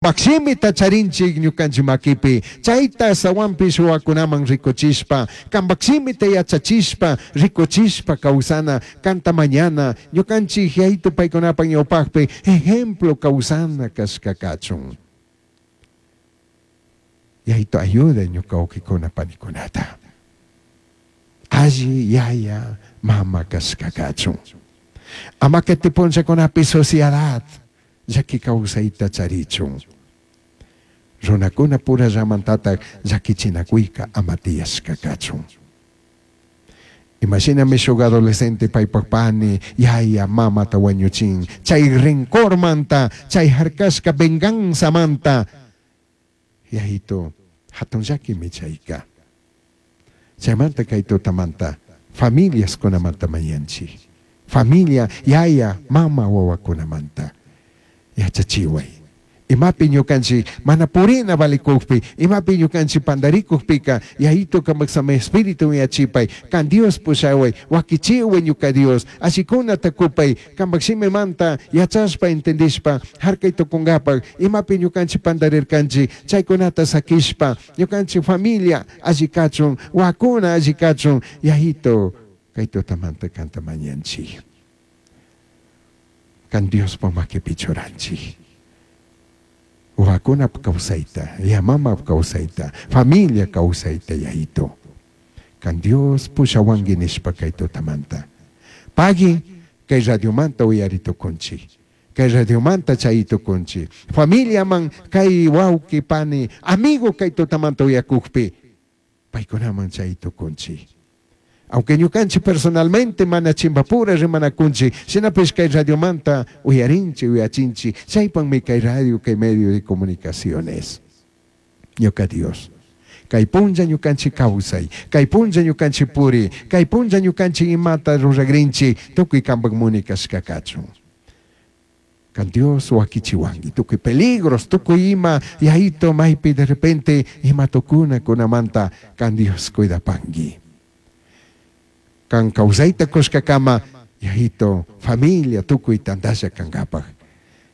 Shimita charinchik ñukanchik makipi, chayta sawanpish wawakunaman rikuchishpa, kampak shimita yachachishpa, rikuchishpa kawsana, kanta mañana, ñukanchik Yayitu paykunapak ñawpakpi ejemplo kawsana kashka kachun. Yayitu ayuda ñuka wawkikuna panikunata. Alli yaya mama kashka kachun. Ama kati punllakunapi sociedad llaki kawsayta charichun. Runakuna purallamantatak llakichinakuyka ama tiyashka kachun. Imashinami shuk adolescente paypak pani, yaya, mamata wañuchin, chay rencormanta, chay harkashka venganzamanta, Yayitu, hatun llakimi chayka. Chaymanta kay tutamanta familiaskunamanta mañanchik. Familia, yaya, mama wawakunamanta. Yachachiway. Imapi ñukanchik mana purina valikukpi, imapi ñukanchik pandarikukpika, Yayitu kampak samay espíritu yachipay, kan Dios pushaway, wakichiway ñuka Dios, allikunata kupay, kampak shimimanta yachashpa entendishpa, harkay tukunkapak, imapi ñukanchik pandarirkanchik, chaykunata sakishpa, ñukanchik familia alli kachun, wakuna alli kachun, Yayitu kay tutamanta kanta mañanchik. Kan Diospa makipi churanchik. Wawakunap kawsayta, yamamap kawsayta, familia kawsayta Yayitu. Kan Dios pushawanki nishpa kay tutamanta. Pagui kay radiomanta uyari tukunchik. Kay radiomanta chay tukunchik. Familiaman kay wawki, pani, amigo kay tutamanta uyakukpi, paykunaman chay tukunchik. Aunque ñukanchik personalmente mana chimbapura rimanakunchik, shinapish kay radiomanta uyarinchik, uyachinchik, chaypanmi kay radio, kay medio de comunicaciones. Ñuka Dios, kay punlla ñukanchik kawsay, kay punlla ñukanchik puri, kay punlla ñukanchik imata ruragrinchik, tukuy kampak muni kashka kachun. Kan Dios wakichiwanki, tukuy peligros, tukuy ima Yayitu maypi de repente ima tukuna kunamanta kan Dios cuidapanki. Kan kawsayta kushkakama Yayitu familia tukuy tantalla kankapak.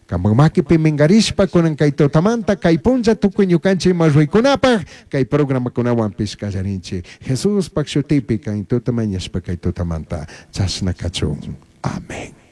Kampak makipi minkarishpa kunan kay tutamanta kay punlla tukuy ñukanchik ima ruykunapak kay programakunawanpish kallarinchik. Jesuspak shutipi kan tuta mañashpa kay tutamanta chashna kachun. Amén.